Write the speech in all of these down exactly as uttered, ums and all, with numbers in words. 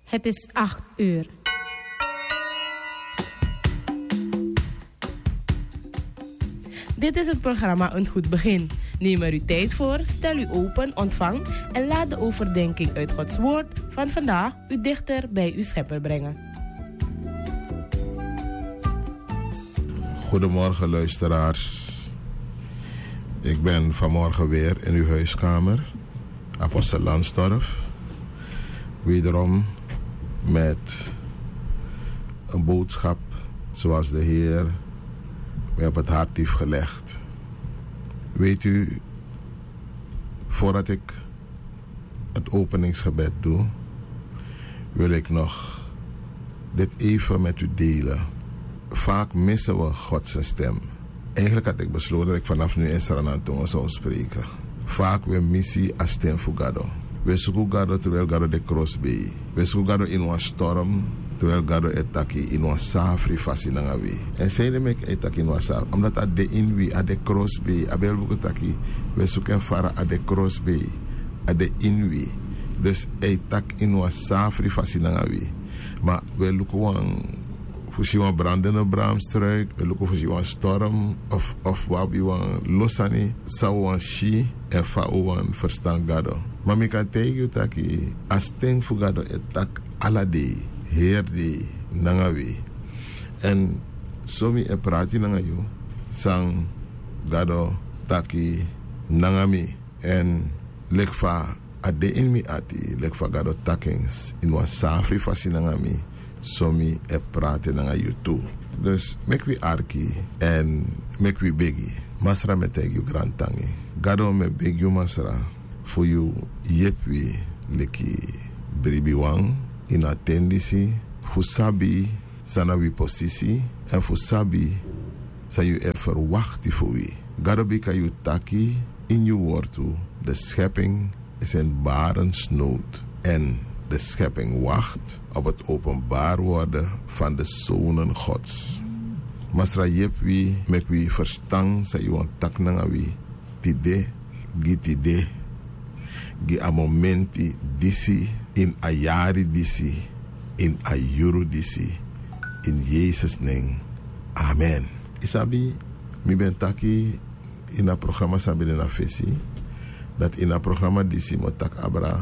Het is acht uur. Dit is het programma Een Goed Begin. Neem er uw tijd voor, stel u open, ontvang en laat de overdenking uit Gods Woord van vandaag u dichter bij uw Schepper brengen. Goedemorgen, luisteraars. Ik ben vanmorgen weer in uw huiskamer, Apostel Lansdorf. Wederom met een boodschap zoals de Heer mij op het hart heeft gelegd. Weet u, voordat ik het openingsgebed doe, wil ik nog dit even met u delen. Vaak missen we Gods stem. Eigenlijk had ik besloten dat ik vanaf nu in Sranan tongo zou spreken. Vaak we misi a stem fu Gado. We suku Gado terwijl Gado de krosbei. We suku Gado in wan storm, terwijl Gado e taki in wan safri fasi nanga wi. En sei de meki e taki in wan safri, omdat a de in wi, a de krosbei, a Bijbel taki we suku en fara, a de krosbei, a de in wi. Dus e taki in wan safri fasi nanga wi. Ma we luku wan fu si wan brandende braamstruik, we luku fu si wan storm of, of we abi wan lo sani san we wani si en fa we wani ferstan Gado. Ma mi kan taigi yu taki a sten fu Gado e taki ala dei, heri dei nanga wi. Èn so mi e prati nanga yu san Gado taki nanga mi. Èn leki fa a de ini mi ati, leki fa Gado taki en ini wan safri fasi nanga mi, so mi e prati nanga yu tu. Dus meki wi arki èn meki wi begi. Masra, mi e taigi yu grantangi. Gado, mi e begi yu, Masra, fu yu yepi wi leki bribiwan ini a ten disi fu sabi san na wi posisi èn fu sabi san yu e ferwakti fu wi. Gado, bika yu taki ini yu wortu: de schepping is in barensnood en de schepping wacht op het openbaar worden van de zonen Gods. Masra, yepi wi, meki wi ferstan san yu wani taki nanga wi tide, gi tide, gi a momenti disi, ini a yari disi, ini a yuru disi, ini Yesus nen. Amen. Yu sabi, mi ben taki ini a programa san ben de na fesi, dati ini a programa disi mi o taki abra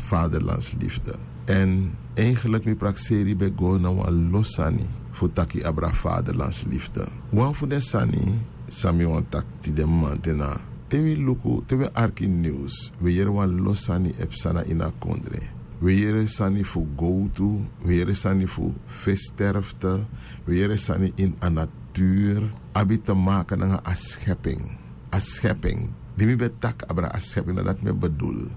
vaderlandsliefde. Èn eigenlijk mi prakseri ben go na wan lo sani fu taki abra vaderlandsliefde. Wan fu den sani san mi wani taki tide mamanten na, te wi luku, te wi e arki niws, wi e yere wan lo sani e psa na ini a kondre. Wi e yere sani fu gowtu, wi e yere sani fu fesi sterfte, wi e yere sani ini a natuur abi te maken nanga a schepping. A schepping, di mi ben taki abra a schepping, na dati mi e bedoel.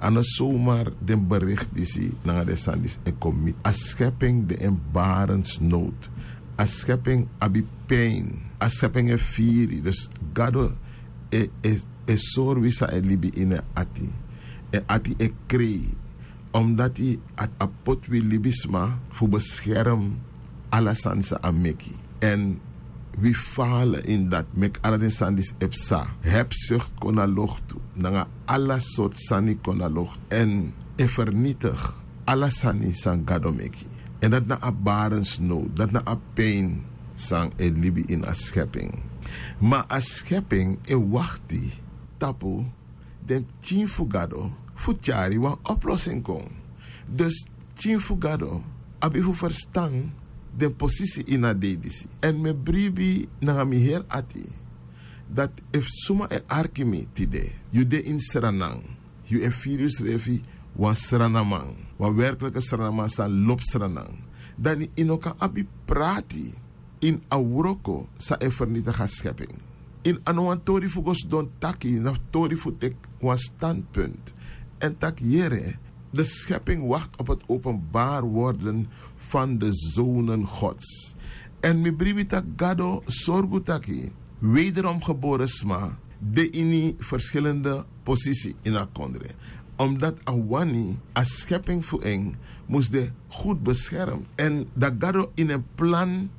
A no somar den bericht disi nanga den sani disi e kon miti. A schepping de in barensnood. A schepping abi pijn. A schepping e firi. Dus Gado e, e, e sori wi san e libi ini en ati. En ati e krei. Omdati a, a poti wi libisma fu beskerm ala sani san a meki. Èn wi fala ini dati, meki ala den sani disi e psa. Hebzucht kon na loktu, nanga ala sortu sani kon na loktu. Èn e fernitigi ala sani san Gado meki. Èn dati na a barensnood, dati na a pijn san e libi ini a schepping. Ma a schepping e wakti tapu den pikin fu Gado fu tyari wan oplossing kon. Dus pikin fu Gado abi fu ferstan den posisi ini a dei disi. Èn mi e bribi nanga mi heri ati dati efu suma e arki mi tide, yu de ini Sranan, yu e firi yusrefi wan Srananman, wan werkliki Srananman san lobi Sranan, dan yu no kan abi prati ini a wroko san e fernitigi a schepping. Ini a no wan tori fu go sidon taki, na tori fu teki wan standpunt èn taki: yere, de schepping wacht op het openbaar worden van de zonen Gods. Èn mi bribi taki Gado sorgu taki wederom geboren sma de ini verschillende posisi ini a kondre. Omdati a wani a schepping fu en mus de goed beschermd. Èn dati Gado ini en plan,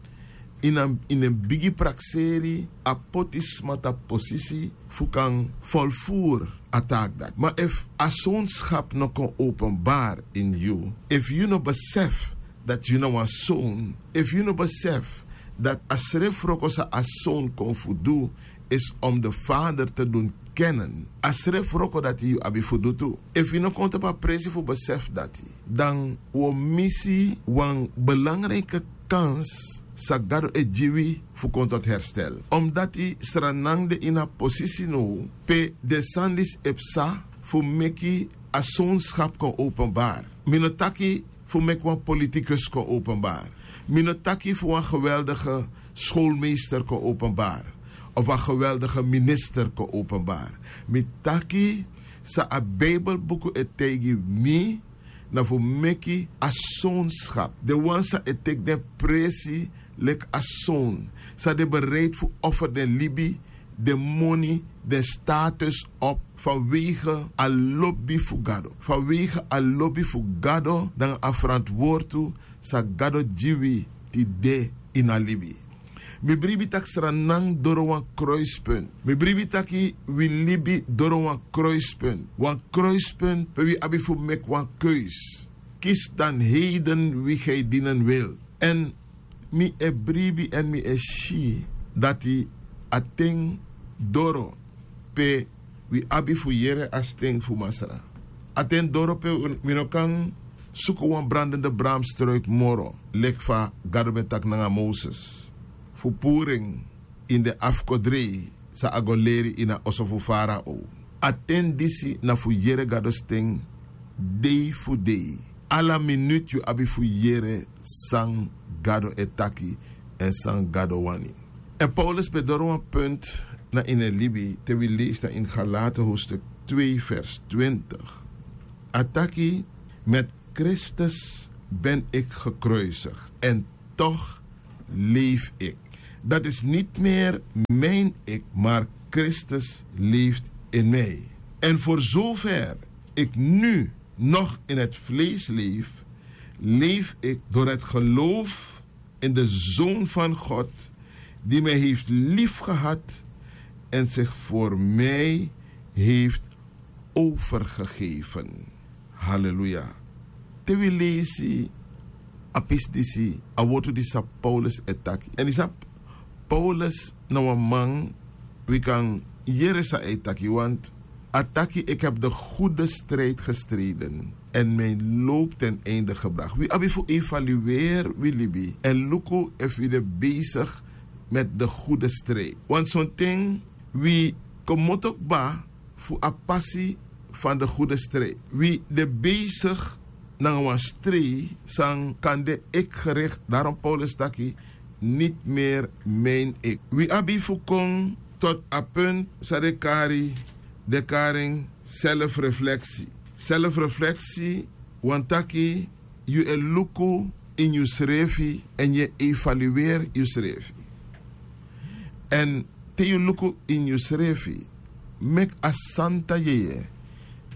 ini en, ini en bigi prakseri, a poti sma tapu posisi fu kan volvoer a taak dati. Ma efu a sonskap no kon openbari ini yu, efu yu no besefi dati yu na wan son, efu yu no besefi dati a srefi wroko san a son kon fu du, isi om de vader te dun kenen, a srefi wroko dati yu abi fu du tu. Efu yu no kon tapu a presi fu besefi dati, dan wi o misi wan belangrike kans san Gado e gi wi fu kon tot herstel. Omdati sranang de ini a posisi now pe den sani disi e psa fu meki a sonskap kon openbari. Mi no taki fu meki wan politikus kon openbari. Mi no taki fu wan geweldige skolmeester kon openbari, of wan geweldige minister kon openbari. Mi taki san a Bijbelbuku e taigi mi, na fu meki a sonskap, den wan san e teki den presi leki a son, san den bereid fu offer den libi, den moni, den status op vanwege a lobi fu Gado, vanwege a lobi fu Gado nanga a ferantwortu san Gado gi wi tide ini a libi. Mi bribi taki sranang doro wan kruispunt. Mi bribi taki wi libi doro wan kruispunt. Wan kruispunt pe wi abi fu meki wan keus. Kisi dan heden wi gi dinen wil. Èn mi e bribi èn mi e si dati a ten doro pe wi abi fu yere a sten fu Masra. A ten doro pe wi no kan suku wan brandende bramstruik moro, leki fa Gado ben taki nanga Moses, fu puru en ini den afkodrei san a go leri ini a oso fu Farao. A ten disi na fu yere Gado sten dei fu dei. Ala minutu yu abi fu yere san Gado e taki èn san Gado wani. Èn Paulus ben doro wan punt na ini en libi te wi leisi na ini Galaten hoofdstuk twee vers twintig. A taki: met Christus ben ik gekruisigd en toch leef ik. Dat is niet meer mijn ik, maar Christus leeft in mij. En voor zover ik nu nog in het vlees leef, leef ik door het geloof in de Zoon van God, die mij heeft liefgehad en zich voor mij heeft overgegeven. Haleluya. Te wi leisi a pisi disi, a wortu disi san Paulus e taki. Èn yu sabi, Paulus na wan man wi kan yere san a e taki, want a taki: ik heb de goede strijd gestreden en mijn loop ten einde gebracht. Wi abi fu evalueri wi libi èn luku efu wi de besigi met de goede strijd. Want sonten wi komoto kba fu a pasi fan de goede strijd. Wi de besigi nanga wan strijd san kan de ik gericht. Daarom Paulus taki: niet meer mijn ik. Wi abi fu kon tot a punt san den kari, den kari en selfrefleksi. Selfrefleksi wani taki yu e luku ini yusrefi èn yu e evalueri yusrefi. Èn te yu luku ini yusrefi, meki a santa yeye,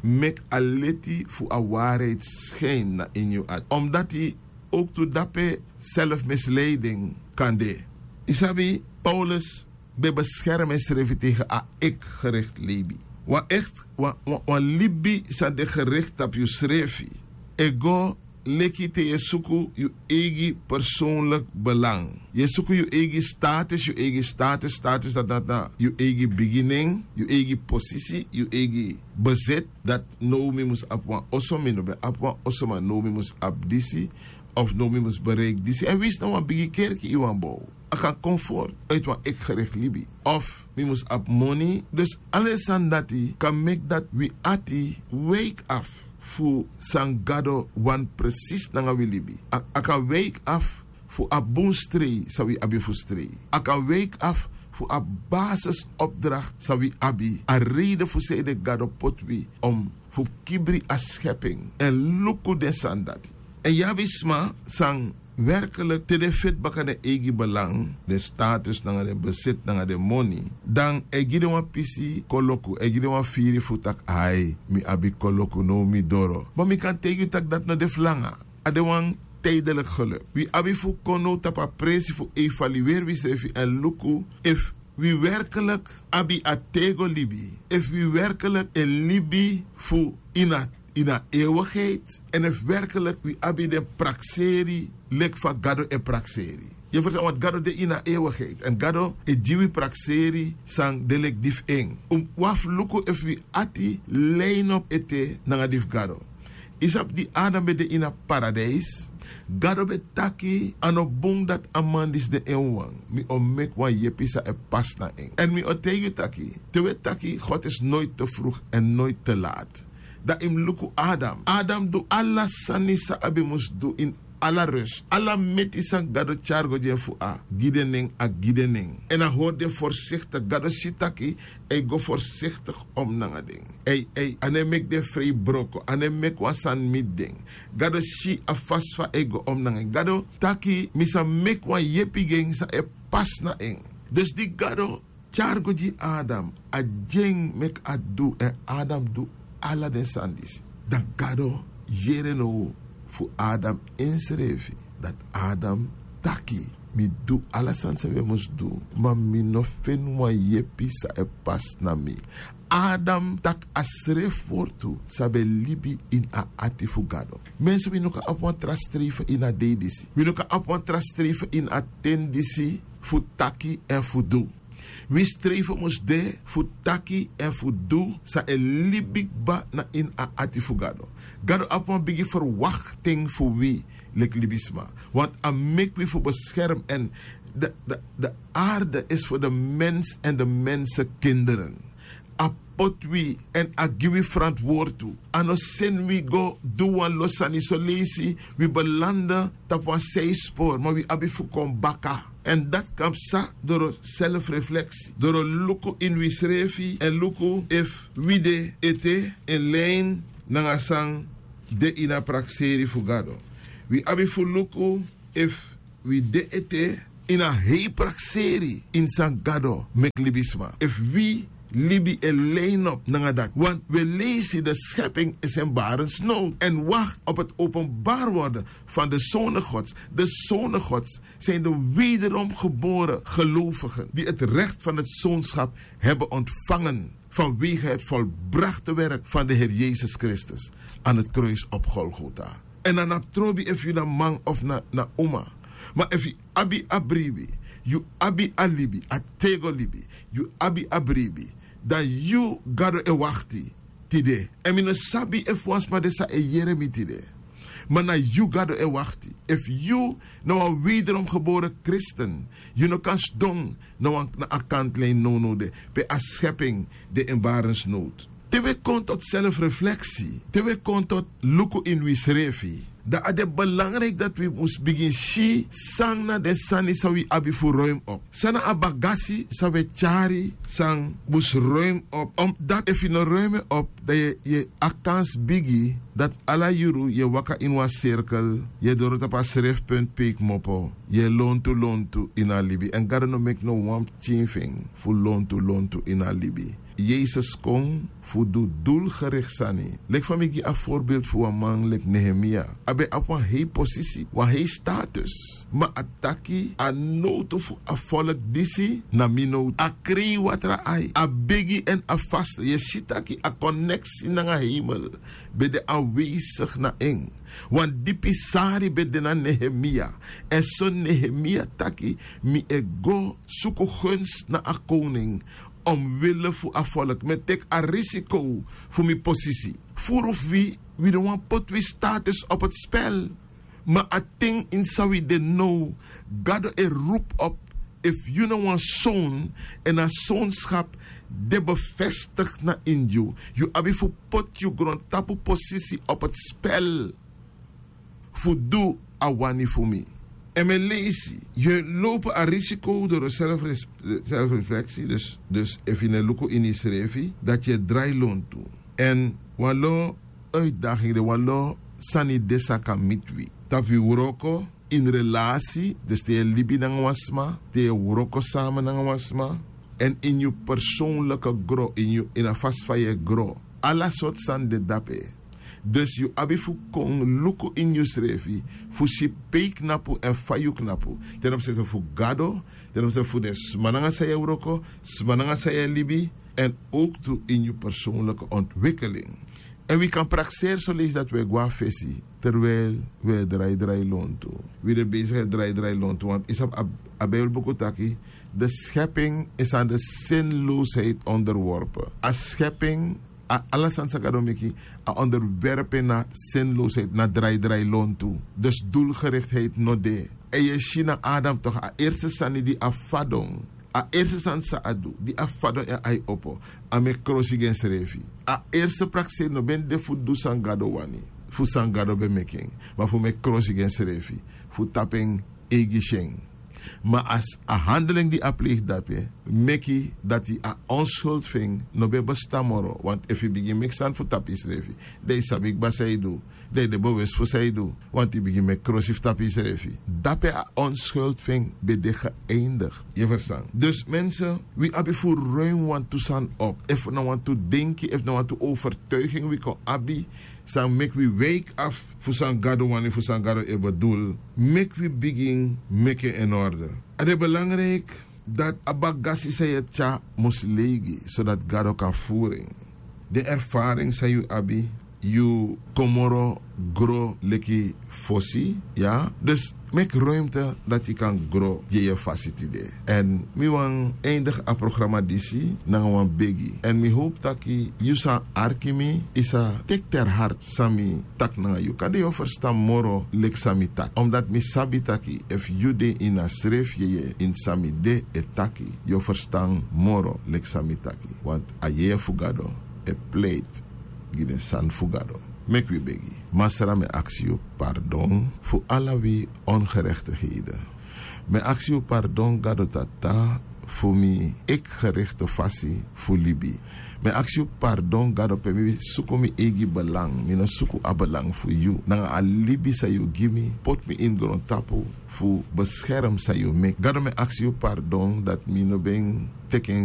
meki a leti fu a waarheid schijn na ini yu ati. Omdati owktu dape selfmisleiding kan de. Yu sabi, Paulus ben beskermi ensrefi tegen a ik gericht libi. Wan echt, wan, wan, wan libi san de gericht tapu yusrefi e go leki te yu e suku yu eigi persoonlijk belang. Yu e suku yu eigi status, yu eigi status, status dati na yu eigi bigi nen, yu eigi posisi, yu eigi bezit. Dati now mi mus abi wan oso, mi no ben abi wan oso, ma now mi mus abi disi, of now mi mus bereiki disi. Èn winsi na wan bigi kerki yu wani bow, a kan kon fortu uiti wan ik gericht libi. Of mi mus abi moni. Dus ala den sani dati kan meki dati wi ati wiki afu fu san Gado wani presis nanga wi libi. A, a kan wiki afu fu a bun strei san wi abi fu strei. A kan wiki afu fu a basisopdracht san wi abi, a reide fu sanede Gado poti wi om fu kibri a schepping èn luku den sani dati. Èn yu abi sma san werkelijk te den feti baka den eigi belang, den status nanga den bezit nanga den moni, dan a e gi den wan pisi koloku, a e gi den wan firi fu taki: ai, mi abi koloku, now mi doro. Ma mi kan taigi yu taki dati no de fu langa. A de wan tijdelijk geluk. Wi abi fu kon now tapu a presi fu evalueri wisrefi èn luku efu wi werkelik abi a tego libi, efu wi werkelik e libi fu ini a ini a ewigeiti, èn efu werkelik wi abi den prakseri leki fa gado e prakseri. Yu e ferstan, want gado de ini a ewigeiti èn gado e gi wi prakseri san de leki di fu en. Un abi fu luku efu wi ati lei nopu ete nanga di fu gado. Yu sabi di adam ben de ini a paradijs, gado ben taki a no bun dati a man disi de en wawan. Mi o meki wan yepi san e pasi na en. Èn mi o taigi yu taki, te wi e taki god is noiti te frug èn noiti te lati. Dan yu mus luku adam. Adam du ala sani san a ben mus du ini ala rus. Ala meti san gado tyari go gi en fu a gi den nen, a gi den nen. Èn a hori den forsiktik. Gado si taki a e go forsiktik om nanga den. Ei ei a no e meki den frei broko, a no e meki wan sani miti den. Gado si a fasi fa a e go om nanga en. Gado taki mi sa meki wan yepi gi en san e pasi na en. Dus di gado tyari go gi adam, a gi en meki a du èn adam du ala den sani disi. Dan gado yere now fu adam ensrefi dati adam taki, mi du ala sani san wi e mus du, ma mi no feni wan yepi san e pasi na mi. Adam taki a srefi wortu san ben libi ini a ati fu gado. Mensi wi no kan abi wan tra strefe ini a dei disi. Wi no kan abi wan tra strefe ini a ten disi fu taki èn fu du. Wi strefe mus de fu taki èn fu du san e libi kba na ini a ati fu gado. Gado abi wan bigi ferwaktin fu wi leki libisma. Want a meki wi fu beskerm èn de arde is fu de mens èn de mensekinderen. A poti wi èn a gi wi ferantwortu. A no seni wi go du wan lo sani soleisi wi belande tapu wan seispori ma wi abi fu kon baka. Èn dati kan psa doro selfrefleksi doro luku ini wisrefi èn luku efu wi de ete en lein nanga san de ini a prakseri fu gado. Wi abi fu luku efu wi de ete ini a hei prakseri ini san gado meki libisma, efu wi libi e leinopu nanga dati. Wan wi e leisi de skeping isi en barensnowtu èn wakti opu heti openbari worden fan de sone gods. De sone gods sin de wederom gebore gelovigen di heti rekti fan heti sonskap heben ontfangen fanwege heti volbrakte werk fan de her yesus kristus an heti kruis opu golgota. Èn a na trobi efu yu na man ofu na uma, ma efu yu abi a bribi, yu abi a libi a tego libi, yu abi a bribi, dan yu gado e wakti tide. Èn mi no sabi efu wan sma de san e yere mi tide, ma na yu gado e wakti. Efu yu na wan wederom gebore kristen, yu no kan sidon na wan na a kantlein nownow de pe a skeping de en barensnowtu. Te wi e kon toti selfrefleksi, te wi e kon toti luku ini wisrefi, dan a de belangriki dati wi mus bigin si san na den sani san wi abi fu ruim op. San na a bagasi san wi e tyari san mus ruim op, omdati efu yu no ruim en op dan yu e a kansi bigi dati ala yuru yu e waka ini wan sirkel, yu e doro tapu a srefi puntu pe yu kmopo, yu e lontu lontu ini a libi èn gado no meki no wan pikin fu en fu lontu lontu ini a libi. Yesus kon fu du dulgerikti sani. Leki fa mi gi a forbeeldi fu wan man leki nehemia, a ben abi wan hei posisi, wan hei status, ma a taki a nowtu fu a folku disi na mi nowtu. A krei watra ai, a begi èn a faste yu e si taki a koneksi nanga heimel ben de anwesigi na en. Wan dipi sari ben de na nehemia. Èn so nehemia taki, mi e go suku gunsi na a kowning omwille fu a folku mi e teki a risiko fu mi posisi. Furu fu wi, wi no wani poti wi status opo spel. Ma a ten ini san wi de now, gado e rupu op. Efu yu na wan son èn a sonskap de befestigi na ini yu, yu abi fu poti yu grontapu posisi opo spel fu du a wani fu mi. Èn mi e leisi, yu e lowpu a risiko doro selfrefleksi. Dus efu yu no e luku ini yusrefi dati yu e drai lontu. Èn wan lo uitdaging de wan lo sani de san kan miti wi tapu wi wroko, ini relasi dus te yu e libi nanga wan sma, te yu e wroko sama nanga wan sma, èn ini yu personliki gro ini a fasi fa yu e gro, ala sortu sani de dape. Dus yu abi fu kon luku ini yusrefi, fu si pe yu knapu èn fa yu knapu, ten opsete fu gado, ten opsete fu den sma nanga san yu e wroko, sma nanga san yu e libi, èn owktu ini yu persownlike ontwikeling. Èn wi kan prakseri soleisi dati wi e go na fesi, terwel wi e drai drai lontu. Wi de besigi e drai drai lontu wantu yu sabi, a bibelbuku taki, de skeping is an de sinlosheid onderworpen. A skeping, a ala sani san gado meki, a onderwerp en na sinlosheid, na drai drai lontu. Dus doelgerichtheid no de. Èn yu e si na adam tok, a erste sani di a fadon, a erste sani san a du di a fadon èn ai opo, a meki krosi gi ensrefi. A erste prakseri no ben de fu du san gado wani, fu san gado ben meki en, ma fu meki krosi gi ensrefi, fu tapu en eigi syen. Ma a handeling di a pleigi dape meki dati a onskuld fu en no ben bestan moro. Want efu yu bigin meki sani fu tapu yusrefi, dan yu sabi kba san yu du, dan yu de bewes fu san yu du. Want yu bigin meki krosi fu tapu yusrefi, dape a onskuld fu en ben de geeindigd. Yu e ferstan? Dus mensen, wi abi fu ruim wantu sani op. Efu na wantu denki, efu na wantu overtuiging wi kon abi, san meki wi wiki afu fu san gado wani, fu san gado e bedoel, meki wi bigin meki en in orde. A de belangrijk dati a bagasi san yu e tyari mus leigi, sodati gado kan furu en. Den ervaring san yu abi, yu kon moro gro leki fosi. Ya, dus meki ruimte dati yu kan gro. Yeye fasi tide. Èn mi wani eindigi a programa disi nanga wan begi, èn mi howpu taki yu san arki mi, yu sa teki ter hart san mi taki nanga yu. Kande yu o ferstan moro leki san mi taki, omdati mi sabi taki efu yu de ini a srefi yeye ini san mi de e taki, yu o ferstan moro leki san mi taki. Want a yeye fu gado e pleiti gi den sani fu gado. Meki wi begi. Masra, mi e aksi yu pardon fu ala wi ongerechtigheden. Mi e aksi yu pardon, gado tata, fu mi eki-gerechte fasi fu libi. Mi e aksi yu pardon, gado, pe mi suku mi eigi belang, mi no suku a belang fu yu nanga a libi san yu gi mi, poti mi ini grontapu fu beskerm san yu meki. Gado, mi e aksi yu pardon dati mi no ben teki en